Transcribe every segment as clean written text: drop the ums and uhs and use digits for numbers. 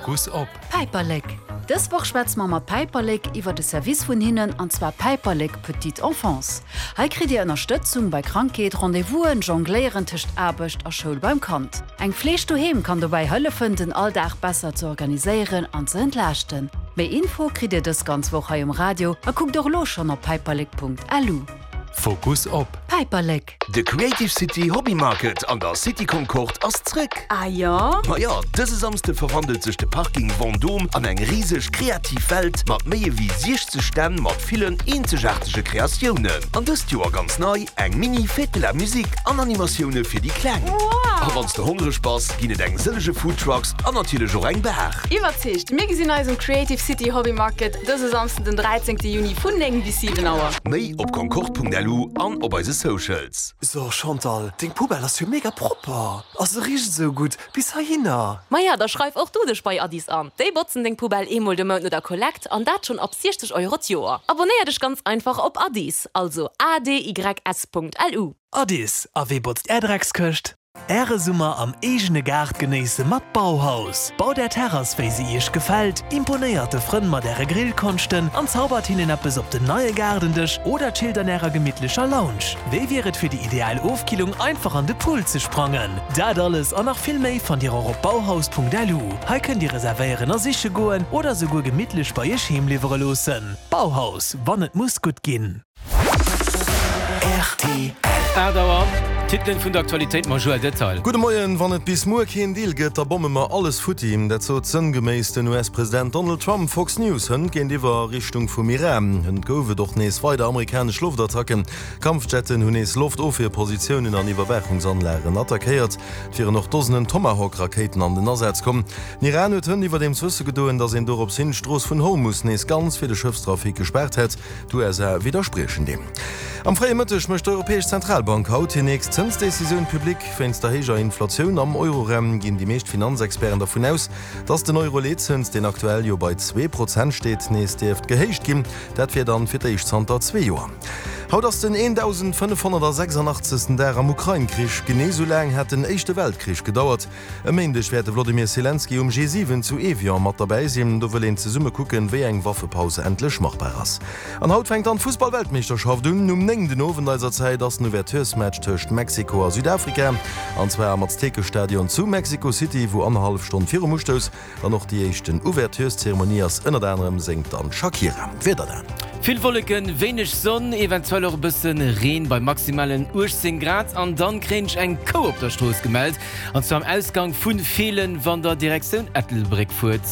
Fokus op. Päiperlek! Dës Woch schwätze mer mat Päiperlek iwwer de Service vun hinnen, an zwar Päiperlek Petite Enfance. Hei kritt dir Ënnerstëtzung bei Krankheet, Rendez-vousen, Jongléieren tëscht Aarbecht a Schoul beim Kand. Eng Fleeg doheem kann dobäi hëllefen, den Alldag besser ze organiséieren an ze entlaaschten. Méi Info kritt dir dës ganz Woch hei um Radio a kuckt och elo schonn op päiperlek.lu. Fokus op. Päiperlek! De Creative City Hobby Market an der City Concorde ass zréck! Ah jo? Majo, dëse Samsde verwandelt sech de Parking Vendôme an eng riseg kreativ Welt mat méi ewéi 60 Stänn mat villen eenzegaartege Kreatiounen. An dëst Joer ganz nei, eng Mini Fête de la Musique an Animatioune fir déi Kleng. Wow! A wann s de hongreg bass, ginn et eng sëllege Foodtrucks an natierlech och eng Bar. Iwwerzeegt! Mir gesinn eis um Creative City Hobby Market dëse Samsden den 13 Juni vun 9 bis 7 Auer. Méi op concorde.lu an op eise Socials. So Chantal, deng Poubelle ass jo mega propper a se richt esou gutt bis heihinner. Maja, da schreif och du dech bei Addis an. Déi botzen deng Poubelle eemol de Mount no der Kollekt an dat schonn ab 60 Euro d'Joer. Abonnéier dech ganz einfach op Addis, also adys.lu. Addis, a wee botzt är Dreckskëscht? Äre Summer am eegene Gaart genéisse mat Bauhaus. Baut är Terrass wéi se iech gefält, imponéiert de Frënn mat äre Grillkonschten an zaubert hinnen eppes op den neie Gaardendësch oder chillt an ärer gemittlecher Lounge. Wéi wier et fir déi ideal Ofkillung einfach an de Pool ze sprangen? Dat alles an nach vill méi fannt dir och op bauhaus.lu. Hei kënnt dir reservéieren a siche goen oder souguer gemittlech bei iech heem liwwere loossen. Bauhaus, wann et muss gutt ginn. Rtl. 8 Auer, D'Titelen vun der Aktualitéit mam Joël Detail. Gudde Moien, Wann et bis muer keen Deal gëtt, da bomme mer alles futti. Dat sot sënngeméiss den US-President Donald Trump Fox News hënt géintiwwer a Richtung vum Iran. Hënt gouf et och nees weider amerikanesch Loftattacken. Kampfjetten hunn nees Loftofwierpositiounen an Iwwerwaachungsanlagen attackéiert. Et wieren och Dosenen Tomahawk-Rakéiten an den Asaz komm. Den Iran huet hënt iwwerdeems wësse gedoen, datt een dorops hin d'Strooss vun Hormus nees ganz fir de Schëffstrafic gespaart hätt. D'USA widderspriechen deem. Am fréie Mëtteg mécht d'Europäesch Zentralbank haut hir nächst Zënsdecisioun public. Wéinst der héijer Inflatioun am Euroraum ginn déi meescht Finanzexperten dervun aus, datt den Euro-Leetzëns, deen aktuell jo bei 2% steet, nees dierft gehéicht ginn. Dat wier dann fir d'éischt zanter zwee Joer. Haut ass den 1.586. Dag am Ukrain-Krich. Genee sou laang hat den Éischte Weltkrich gedauert. E Méindeg wäert de Wlodimir Selenskyj um G7 zu Evian mat derbäi sinn. Do wëll een zesumme kucken, wéi eng Waffepaus endlech machbar ass. An haut fänkt dann d'Fussball-Weltmeeschterschaft un. Um 9 den Owend eiser Zäit ass den Ouverturesmatch tëscht Mexiko a Südafrika. An zwar am Aztekestadion zu Mexico City, wou annerhallef Stonn virum Ustouss Dann och déi éischten Ouvertureszeremonie ass. Ënnert anerem séngt dann d'Shakira. D'Wieder dann. Vill Wolleken, wéineg Sonn, eventuell och e bësse Reen bei maximalen 18 Grad. An dann kréien ech eng Kou op der Strooss gemellt, an zwar am Ausgang vu Feelen, wann der Direktioun Ettelbréck fuert.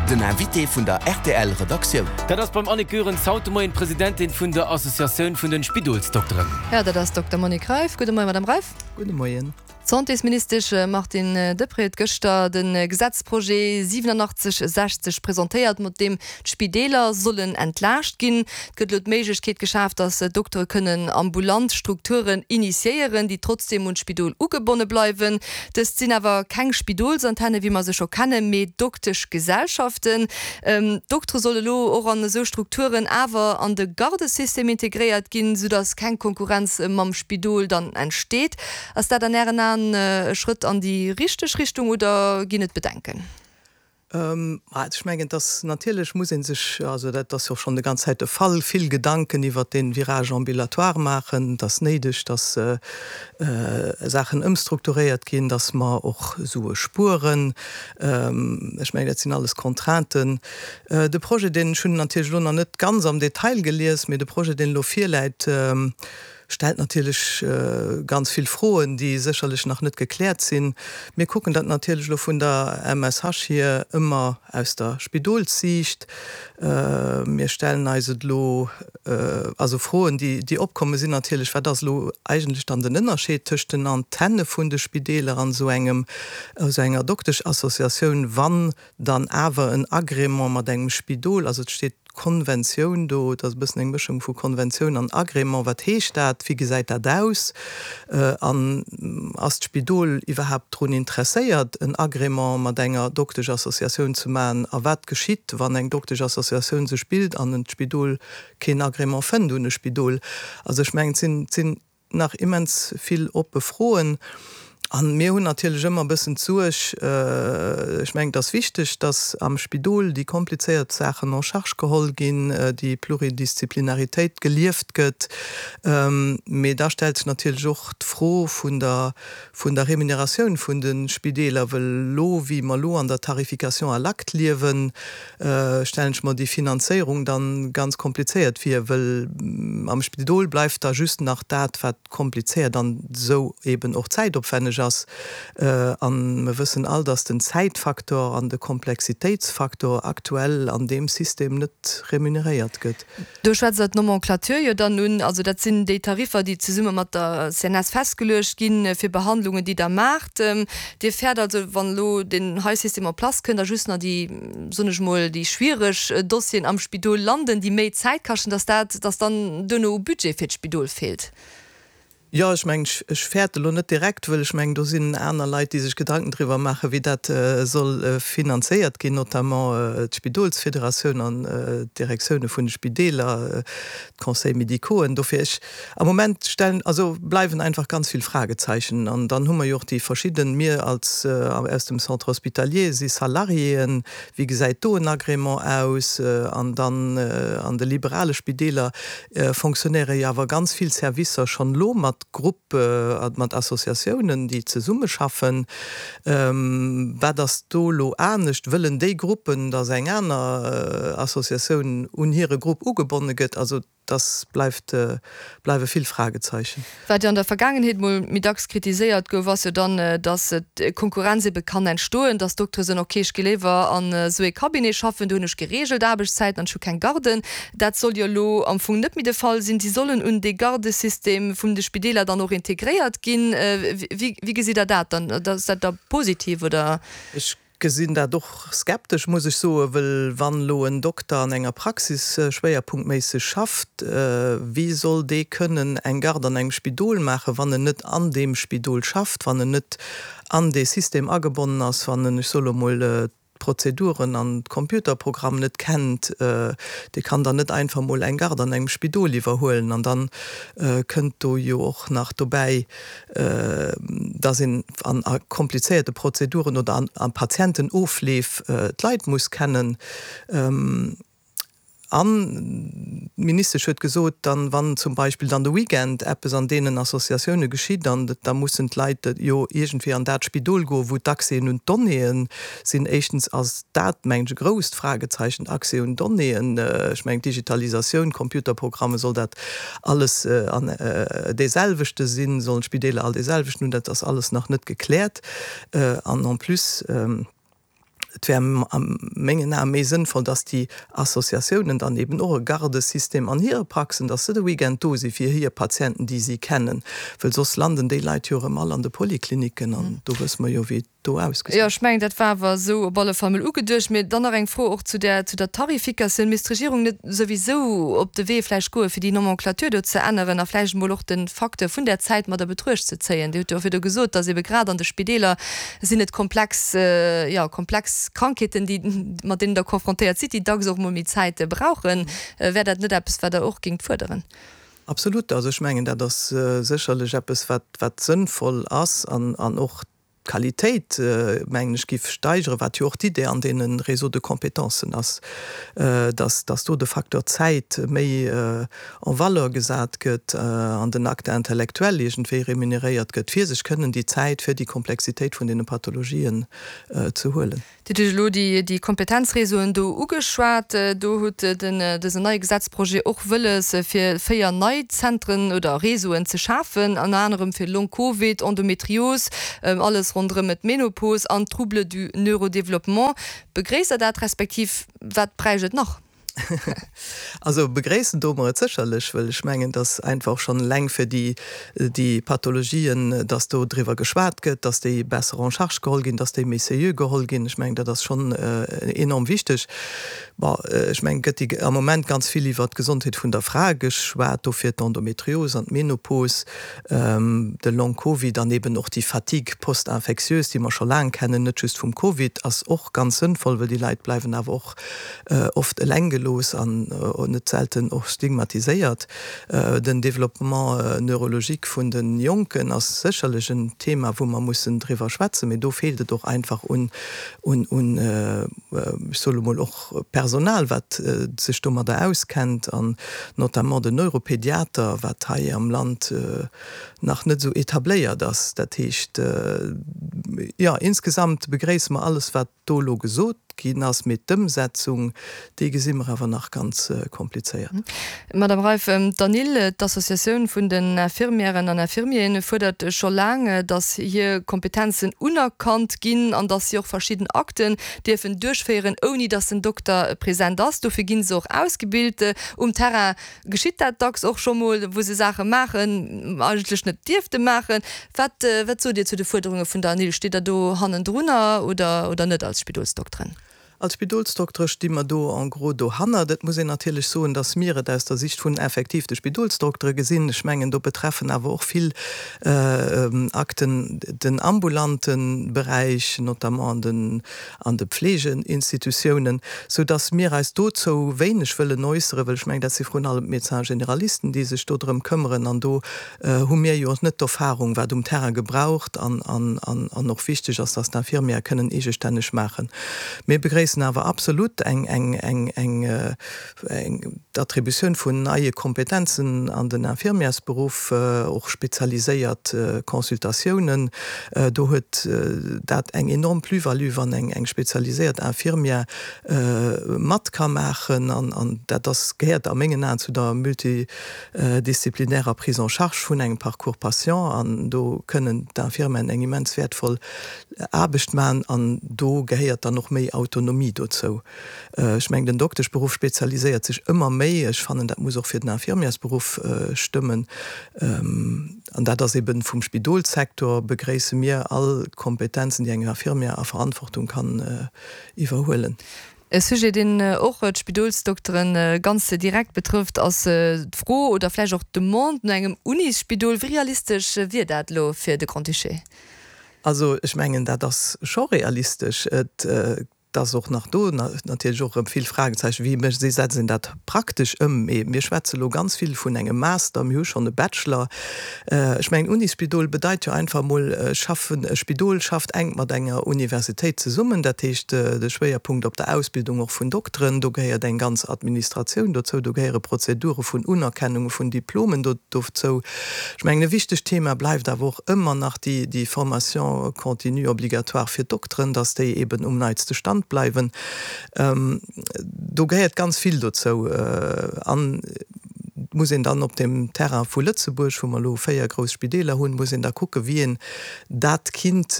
Den Invité vun der rtl Redaktioun. Dat ass beim Annick Goerens haut de Moien d'Presidentin vun der Associatioun vun den Spidolsdokteren. Jo, dat ass d'Dokter Monique Reiff. Gudde Moien, Madame Reiff. Gudde Moien. D'Santésministesch Martine Deprez huet gëschter de Gesetzprojet 8760 presentéiert, mat deem d'Spideeler sollen entlaascht ginn. Et gëtt elo d'Méiglechkeet geschaf, datt Doktere kënnen ambulant Strukturen initiéieren, déi trotzdeem un d'Spidol ugebonne bleiwen. Dëst sinn awer keng Spidolsantenne wéi mer se scho kennen, mee Dokteschgesellschaften. D'Doktere solle elo och an esou Strukturen awer an de Gardesystem integréiert ginn, soudatt keng Konkurrenz mam Spidol dann entsteet. Ass dat an Ären Aen e Schrëtt an déi richteg Richtung oder ginn et Bedenken? Ech mengen, dass natierlech muss ee sech, also dat ass jo och schonn déi ganz Zäit de Fall, vill Gedanken iwwert dee Virage ambulatoire maachen. Et ass néideg, dass Saachen ëmstrukturéiert ginn, dass mer och Sue spueren. Ech mengen, dat sinn alles Contrainten. De Projet, deen, ech hunn en natierlech elo nach net ganz am Detail gelies, mee de Projet, deen elo virläit, Stellt natierlech ganz vill Froen, déi sécherlech nach net gekläert sinn. Mir kucken dat natierlech elo vun der MSH hier ëmmer aus der Spidolssiicht. Mir stellen eis et elo, also Froen, déi opkomme sinn natierlech, Wat ass elo eigentlech dann den Ënnerscheed tëscht den Antenne vun de Spideeler an esou engem, esou enger Dokteschassociatioun, wann dann awer en Agrément mat engem Spidol, also et steet Konventioun do, et ass e bëssen eng Mëschung vu Konventioun an Agrément, wat heescht dat, wéi gesäit dat aus an ass d'Spidol iwwerhaapt drun interesséiert en Agrément mat enger Dokteschassociatioun ze maachen a wat geschitt, wann eng Dokteschassociatioun sech bilt an en d'Spidol keen Agrément fënnt un e Spidol. Also ech mengen, et sinn, et sinn nach immens vill oppe Froen. A mir hunn natierlech ëmmer e bëssen d'Suerg, ech mengen, et ass wichteg, datt am Spidol déi komplizéiert Saachen en charge geholl ginn, déi Pluridisziplinaritéit gelieft gëtt. Mee da stellt sech natierlech och d'Fro vun der, vun der Remuneratioun vun de Spideeler, wëll elo, wéi mer elo an der Tarification à l'acte liewen, stellen ech mer déi Finanzéierung dann ganz komplizéiert vir, wëll am Spidol bleift da just nach dat, wat komplizéiert an esou eben och zäitopwänneg ass. A mer wëssen all, dass den Zäitfaktor an de Komplexitéitsfaktor aktuell an deem System net remuneréiert gëtt. Do schwätzt Der d'Nomenclature jo dann un. Also dat sinn déi Tariffer, déi zesumme mat der CNS festgeluecht ginn, fir Behandlungen, déi Der maacht. Dir fäert also, wann elo deen hei System en place kënnt a just nach déi, soen ech mol, déi schwiereg Dossieren am Spidol landen, déi méi Zäit kaschten, dass dat, dass dann duerno u Budget fir d'Spidol feelt. Jo, ech mengen, ech fäerte elo net direkt, wëll ech mengen, do sinn aner Leit, déi sech Gedanken driwwer maachen, wéi dat soll finanzéiert ginn, notamment d'Spidolsfederatioun an d'Direktioune vun de Spideeler, d'Conseils médicauxen. Dofir, ech, am Moment stellen, also bleiwen einfach ganz vill Fragezeichen. An dann hu mer jo och déi verschidden, mir als aus dem Centre hospitalier si Salariéen, Wéi gesäit do en Agrément aus? An dann an de liberale Spideeler fonctionnéiere jo awer ganz vill Servicer schonn elo mat Grupp, mat Associatiounen, déi zesummeschaffen. Wat ass do elo anescht? Wëllen déi Gruppen, datt eng aner Associatioun un hire Grupp ugebonne gëtt? Also Dass bleift, bleiwe vill Fragezeichen. Wat jo an der Vergaangenheet mol méi dacks kritiséiert gouf, ass jo dann, dass Konkurrenz ebe kann entstoen, dass Doktere soen, ok, ech gi léiwer an esou ee Cabinet schaffen, do hunn ech gereegelt Aarbechtszäiten an ech hu keng Garden. Dat soll jo elo am Fong net méi de Fall sinn. Si sollen un dee Gardesystem vun de Spideeler dann och integréiert ginn. Wéi gesitt Der dat dann? Ass dat da positiv oder? Ech Gesinn dat och skeptesch, muss ech soen, wëll wann elo en Dokter an enger Praxis schwéierpunktméisseg schafft, wéi soll dee kënnen eng Garde an engem Spidol maachen, wann en net an deem Spidol schafft, wann en net an dee System agebonnen ass, wann en, ech soe lo mol, d'Prozeduren an d'Computerprogramm net kennt? Dee kann dann net einfach mol eng Garde an engem Spidol iwwerhuelen. An dann kënnt do jo och nach dobäi, dass een an a komplizéierte Prozeduren oder an a Patientenofleef d'Leit muss kennen. An d'Ministesch huet gesot, dann, wann zum Beispill dann de Weekend eppes an deenen Associatioune geschitt, an da mussen d'Leit jo iergendwéi an dat Spidol goen, wou d'Accèsen un d'Donnéeë sinn. Éischtens ass dat, mengen ech, e grousst Fragezeichen, Accès un Donnéeën. Ech mengen, d'Digitalisatioun, Computerprogramme, soll dat alles an dee selwechte sinn, sollen d'Spideeler all dee selwechten hunn, dat ass alles nach net gekläert. An en plus, et wär a mengen Ae méi sënnvoll, dass déi Associatiounen dann eben och e Gardesystem an hire Praxen, dass se de Weekend do si fir hir Patienten, déi si kennen, wëll soss landen déi Leit jo erëm all an de Polikliniken an do wësse mer jo, wéi et do ausgesäit. Jo, ech mengen, dat war awer esou op alle Fall mol ugeduecht. Mee dann nach eng Fro och zu där, zu der Tarifikatioun. Misst d'Regierung net souwisou op de Wee vläicht goen, fir déi Nomenclature do ze änneren a vläicht emol och de Facteur vun där Zäit mat a Betruecht ze zéien? Dir hutt jo och virdu gesot, dass ebe grad an de Spideeler sinn et komplex, jo, komplex Krankheeten, déi, mat deenen Der confrontéiert sidd, déi dacks och emol méi Zäit brauchen. Wär dat net eppes, wat Der och géingt fuerderen? Absolut. Also ech mengen, dat ass sécherlech eppes, wat, wat sënnvoll ass an, an och D'Qualitéit, mengen ech, giff steigeren, wat jo och d'Idee an deene Réseaux de compétences ass, dass, dass do de Facteur Zäit méi en valeur gesat gëtt an den Acte intellectuel iergendwéi remuneréiert gëtt, fir sech kënnen déi Zäit fir déi Komplexitéit vun deene Pathologien ze huelen. Dir hutt elo déi Kompetenzréseauen do ugeschwat. Do huet den dësen neie Gesetzprojet och wëlles, fir 4 nei Zentren oder Réseauen ze schafen, ënner anerem fir Long Covid, Endometrios, alles ronderëm d'Menopos an d'Troubles du neurodéveloppement. Begréisst Der dat, respektiv wat bräicht et nach? Also begréissen doe mer et sécherlech, wëll ech mengen, dass einfach och schonn eleng fir déi, déi Pathologien, dass do driwwer geschwat gëtt, dass déi besser en charge geholl ginn, dass déi méi sérieux geholl ginn. Ech mengen, dat ass schonn enorm wichteg. Bon, ech mengen, et gëtt déi am Moment ganz vill iwwert d'Gesondheet vun der Fra geschwat, dofir d'Endometrios an d'Menopos, de Long Covid an eben och déi Fatigue post-infectieuse, déi mer scho laang kennen, net just vum Covid, ass och ganz sënnvoll, wëll déi Leit bleiwen awer och oft eleng gelooss. gelooss an net selten och stigmatiséiert. Den Développement neurologique vun de Jonken ass sécherlech en Thema, wou mer mussen driwwer schwätzen, mee do feelt et och einfach un, un, ech soe lo mol, och Personal, wat sech domadder auskennt, an notamment den Neuropédiater, wat hei am Land nach net esou etabléiert ass. Dat heescht, jo, insgesamt begréisse mer alles, wat do elo gesot ginn ass, mee d'Ëmsetzung, déi gesi mer awer nach ganz komplizéiert. Madame Reiff, d'ANIL, d'Associatioun vun den Infirmièren an Infirmieren, fuerdert scho laang, datt hir Kompetenzen unerkannt ginn an datt si och verschidden Akten dierfen duerchféieren, ouni datt den Dokter present ass. Dofir gi se och ausgebilt. Um Terrain geschitt dat dacks och scho mol, wou se Saache maachen, eigentlech net dierfte maachen. Wat, wat sot Dir zu de Fuerderunge vun der ANIL? Steet Der do hannendrunner oder, oder net als Spidolsdokteren? Als Spidolsdoktere sti mer do en gros dohannert. Et muss een natierlech soen, dass mir et aus der Sicht vun effektiv de Spidolsdoktere gesinn. Ech mengen, do betreffen awer och vill Akten den ambulante Beräich, notamment an den an de Pflegeinstitutiounen, sou dass mir eis dozou wéineg wëllen äusseren, well ech mengen, dat si vrun allem d'Médecins généralisten, déi sech do drëm këmmeren, an do hu mir jo och net d'Erfahrung, wat um Terrain gebraucht an an och wichteg ass, dass d'Infirmière kënnen eegestänneg maachen. Mir begréissen awer absolut eng eng eng eng D'Attributioun vun neie Kompetenzen an den Infirmièrsberuff, och spezialiséiert Consultatiounen, do huet dat eng enorm Plus-value, wann eng spezialiséiert Infirmière mat ka maachen. An dat ass, gehéiert a mengen Aen zu der multidisziplinärer Prise en charge vun engem Parcours patient. An do kënnen d'Infirmièren eng immens wäertvoll Aarbecht maachen. An do gehéiert dann och méi Autonomie dozou. Ech mengen, den Dokteschberuff spezialiséiert sech ëmmer méi. Ech fannen, dat muss och fir den Infirmiersberuff stëmmen. An dat ass eben vum Spidolssektor begréisse mir all Kompetenzen, déi eng Infirmière a Verantwortung kann iwwerhuelen. E Sujet, deen och d'Spidolsdoktere ganz direkt betrëfft, ass d'Fro oder vläicht och d'Demande no engem Unisspidol. Wéi realistesch wier dat elo fir de Grand-Duché? Also ech mengen, dat ass scho realistesch. Et Et ass och nach do natierlech och erëm vill Fragezeichen, wéi mécht, wéi setzt een dat praktesch ëm? Mee mir schwätze lo ganz vill vun engem Master, mir hu schonn e Bachelor. Ech mengen, Unisspidol bedeit jo einfach emol schaffen, e Spidol schafft enk mat enger Universitéit zesummen, dat heescht de Schwéierpunkt op der Ausbildung och vun Dokteren, do gehéiert eng ganz Administratioun dozou, do gehéiere Prozedure vun Unerkennunge vun Diplomen dozou. Ech mengen, e wichtegt Thema bleift awer och ëmmer nach déi Formation continue obligatoire fir d'Dokteren, dass déi eben um neitste Stand bleiwen. Do gehéiert ganz vill dozou. An et muss een dann op dem Terrain vu Lëtzebuerg, wou mer elo 4 grouss Spideeler hunn, muss een da kucken, wéi een dat kinnt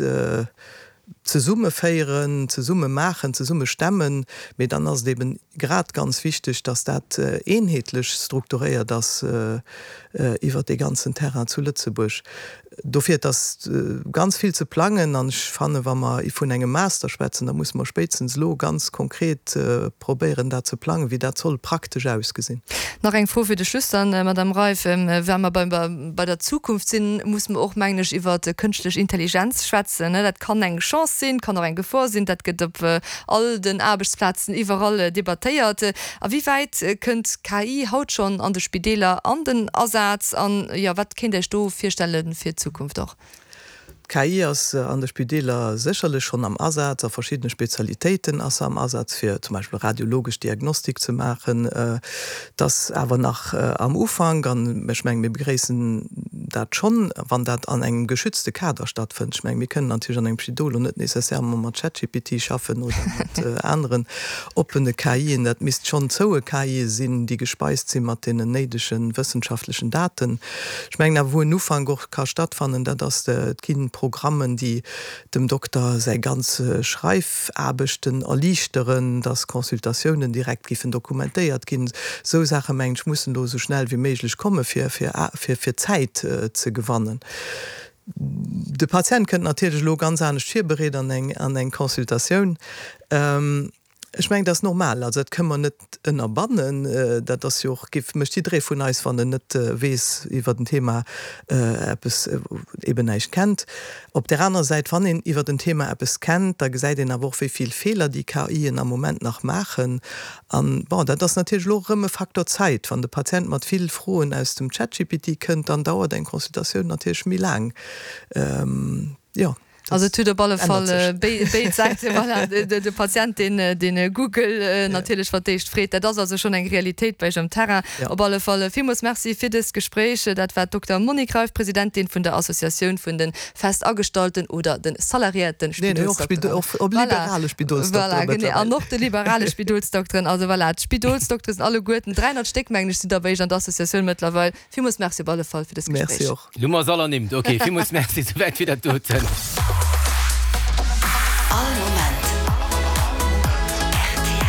zesumme féieren, zesumme maachen, zesumme stemmen. Mee dann ass et eben grad ganz wichteg, dass dat eenheetlech strukturéiert ass iwwert dee ganzen Terrain zu Lëtzebuerg. Dofir, et ass ganz vill ze plangen an ech fannen, wa mer vun engem Master schwätzen, da musse mer spéitstens elo ganz konkret probéieren, dat ze plangen, wéi dat soll praktesch ausgesinn. Nach eng Fro fir de Schluss dann, Madame Reiff. Wa mer bei der Zukunft sinn, musse mer och, mengen ech, iwwer kënschtlech Intelligenz schwätzen. Dat kann eng Chance sinn, kann och eng Gefor sinn. Dat gëtt op all den Aarbechtsplazen iwwerall debattéiert. A wéi wäit kënnt KI haut schonn an de Spideeler an den Asaz? An, jo, wat kéint Dir Iech do virstelle fir d'Zukunft och? D'KI ass an de Spideeler sécherlech schonn am Asaz. A verschiddene Spezialitéiten ass se am Asaz, fir zum Beispill radiologesch Diagnostik ze maachen. Et ass awer nach am Ufank an ech mengen, mir begréissen dat schonn, wann dat an engem geschützte Kader stattfënnt. Ech mengen, mir kënnen natierlech an engem Spidol lo net nécessairement mat ChatGPT schaffen oder mat aneren oppene KIen. Dat misst schonn zoue KIe sinn, déi gespeist si mat deenen néidege wëssenschaftlechen Daten. Ech mengen awer, wou en Ufank och ka stattfannen, dat ass, et gi Programmen, déi dem Dokter säi ganz Schreifaarbechten erliichteren, dass Consultatiounen direkt giffen dokumentéiert ginn. Esou Saache mengen ech mussen elo esou schnell wéi méiglech komme fir fir Zäit ze gewannen. De Patient kënnt natierlech elo ganz anescht virbereet an eng an eng Consultatioun. Ech mengen, dat ass normal. Also dat kënne mer net ënnerbannen. Dat ass jo och, géif, mécht jidderee vun eis, wann en net weess iwwert en Thema eppes, eben näischt kennt. Op där anerer Säit, wann een iwwert en Thema eppes kennt, da gesäit een awer och, wéi vill Feeler déi KIen am Moment nach maachen. An, bon, dat ass natierlech elo och erëm e Faktor Zäit. Wann de Patient mat vill Froen aus dem ChatGPT kënnt, dann dauert eng Consultatioun natierlech méi laang. Jo. Also et huet op alle Fall béid Säiten. Voilà, de Patient, deen de Google natierlech fir d'éischt freet. Dat ass also schonn eng Realitéit bei iech am Terrain. Op alle Fall villmools Merci fir dëst Gespréich. Dat war d'Dokter Monique Reiff, Presidentin vun der Associatioun vun de Festagestallten oder de salariéierte Spidolsdokteren. Och liberale Spidolsdokteren mëttlerweil. Voilà, genee, an och de liberale Spidolsdokteren. Also voilà, d'Spidolsdoktere sinn alleguerten, 300 Stéck mengen ech sinn der bei iech an der Associatioun mëttlerweil. Villmools Merci op alle Fall fir dëst Gespréich. Merci och. Lo hu mer se all ernimmt. Ok, villmools Merci, souwäit fir dat doten. All Moment rtl.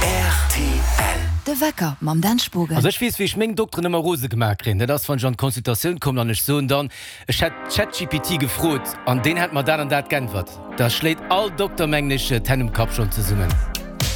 Rtl. De Wecker mam Dan Spogen. Also ech weess wéi ech meng Dokteren ëmmer rose gemaach kréien, dat ass wann ech an d'Consultatioun kommen an ech soen dann, ech hätt ChatGPT gefrot an deen hätt mer dat an dat g'äntwert. Da schléit all Dokter mengen ech d'Hänn um Kapp schonn zesummen.